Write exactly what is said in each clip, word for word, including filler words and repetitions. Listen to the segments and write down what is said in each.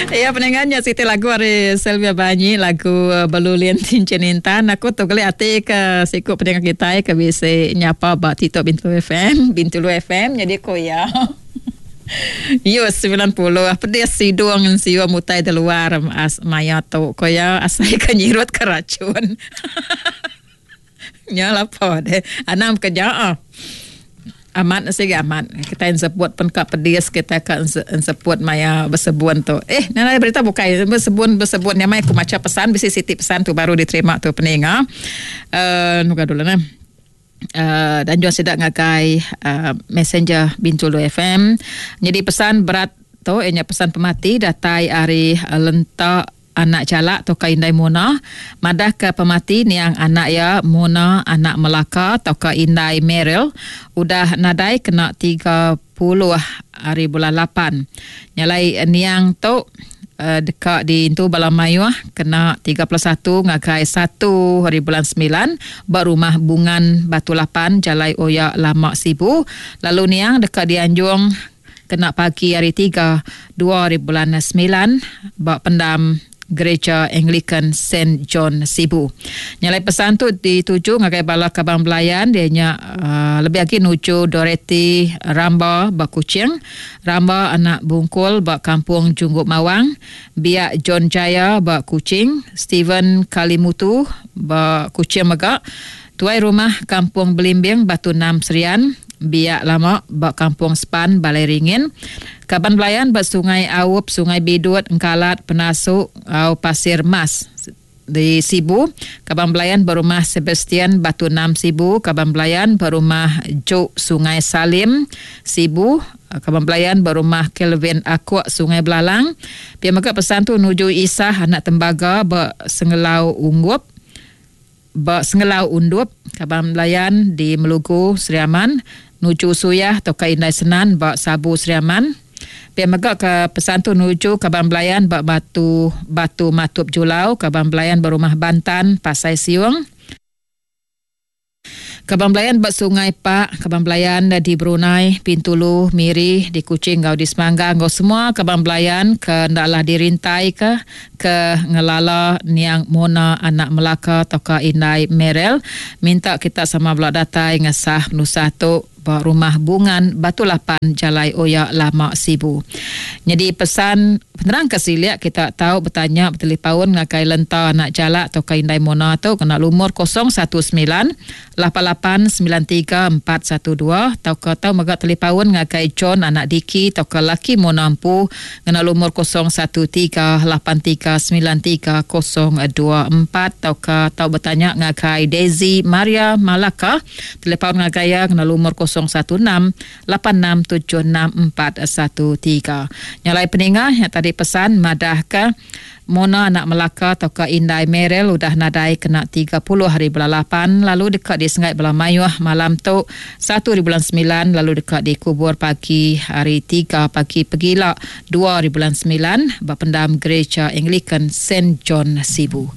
Ya pendengarnya siti lagu ari Sylvia Banyi lagu Belulin Tincin Intan. Aku tu geli ati ke siku pendengar kita ke bisi nyapa ba TikTok Bintulu F M, Bintulu F M jadi ko ya. Yo sembilan puluh pedis sidung siu mutai di luar as maya tu ko ya asai ke nyirut ke racun. Nya lapo deh. Anam kerja. Amat sih amat. Kita sebut pun ka pedis kita ka sebut maya bersebun tu. Eh, nana berita bukai bersebun bersebun nyamai aku maca pesan bisi siti pesan tu baru diterima tu peninga. Eh uh, nuga dulu nah. Uh, dan jual sidak ngagai uh, Messenger Bintulu F M. Jadi pesan berat tu ianya pesan pemati datai ari uh, lentak anak jalak atau ka indai Mona madah ke pemati niang anak ya Mona anak Melaka atau ka indai Meryl udah nadai kena tiga puluh hari bulan lapan. Nyalai niang tu uh, dekat di intu bala mayuh kena tiga puluh satu ngagai satu hari bulan sembilan berumah Bungan Batu Lapan Jalai Oya Lama Sibu. Lalu niang dekat dianjung kena pagi hari tiga dua hari bulan sembilan bak pendam Gereja Anglican Saint John Sibu. Nyalai pesan tu dituju ngagai bala kabang belayan dia nya uh, lebih lagi nuju Dorothy Ramba bak Kuching, Ramba anak Bungkul bak Kampung Jungguk Mawang, Biak John Jaya bak Kuching, Stephen Kalimutu bak Kuching mega, Tuai Rumah Kampung Belimbing Batu Enam Serian, Biak Lama bak Kampung Sepan Balai Ringin, Kaban Belayan bak Sungai Aup, Sungai Bidut, Engkalat, Penasuk, au Pasir Mas di Sibu, Kaban Belayan berumah Sebastian Batu Enam Sibu, Kaban Belayan berumah Juk Sungai Salim Sibu, Kaban Belayan berumah Kelvin Akuk Sungai Belalang. Pia mega pesan tu nuju Isah anak Tembaga bak Sengelau Unggup, bak Sengelau Undup, Kaban Belayan di Melugu Seriaman, nuju Suyah atau ka Indai Senan bak Sabu Seriaman. Pia mega ke pesan tu nuju Kaban Belayan bak Batu Batu Matup Julau, Kaban Belayan berumah Bantan Pasai Siung. Kaban Belayan bak Sungai Pak, Kaban Belayan di Brunei, Pintulu, Miri, di Kuching ngau di Semanggang ngau semua Kaban Belayan ke ndaklah dirintai ke ke ngelala niang Mona anak Melaka atau ka Indai Merel. Minta kita sama belak datai ngesah nusah tu ba rumah Bungan Batu Lapan Jalai Oya Lama Sibu. Jadi pesan penerang ke siliak kita tahu bertanya bertelepaun ngakai lenta anak jalak atau ka Indai Mona tu kena lumur kosong satu sembilan lapan lapan sembilan tiga empat satu dua atau ke tahu megak telepaun ngakai John anak Diki atau ke laki Mona Empu kena lumur kosong satu tiga lapan tiga sembilan tiga kosong dua empat atau ke tahu bertanya ngakai Daisy Maria Malaka telepaun ngakai ya kena lumur kosong satu enam lapan enam tujuh enam empat satu tiga. Nyalai peningah yang tadi pesan madah ke Mona anak Melaka atau ke Indai Merel udah nadai kena tiga puluh hari bulan lapan lalu dekat di Sengai Bela Mayuh malam tu satu hari bulan sembilan lalu dekat dikubur pagi hari tiga pagi pegila dua hari bulan sembilan berpendam Gereja Anglican Saint John Sibu.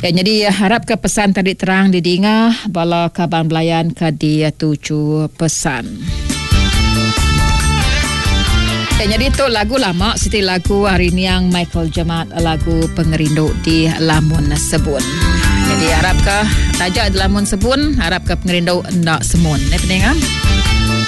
Ya, jadi harap ke pesan tadi terang didinga bala kaban belayan ke dia tuju pesan. Ya, jadi tu lagu lama siti lagu hari ni yang Michael Jemat lagu Pengerindu di Lamun Sebun. Jadi harap ke tajak di Lamun Sebun, harap ke pengerindu ndak semun. Ne pendengar.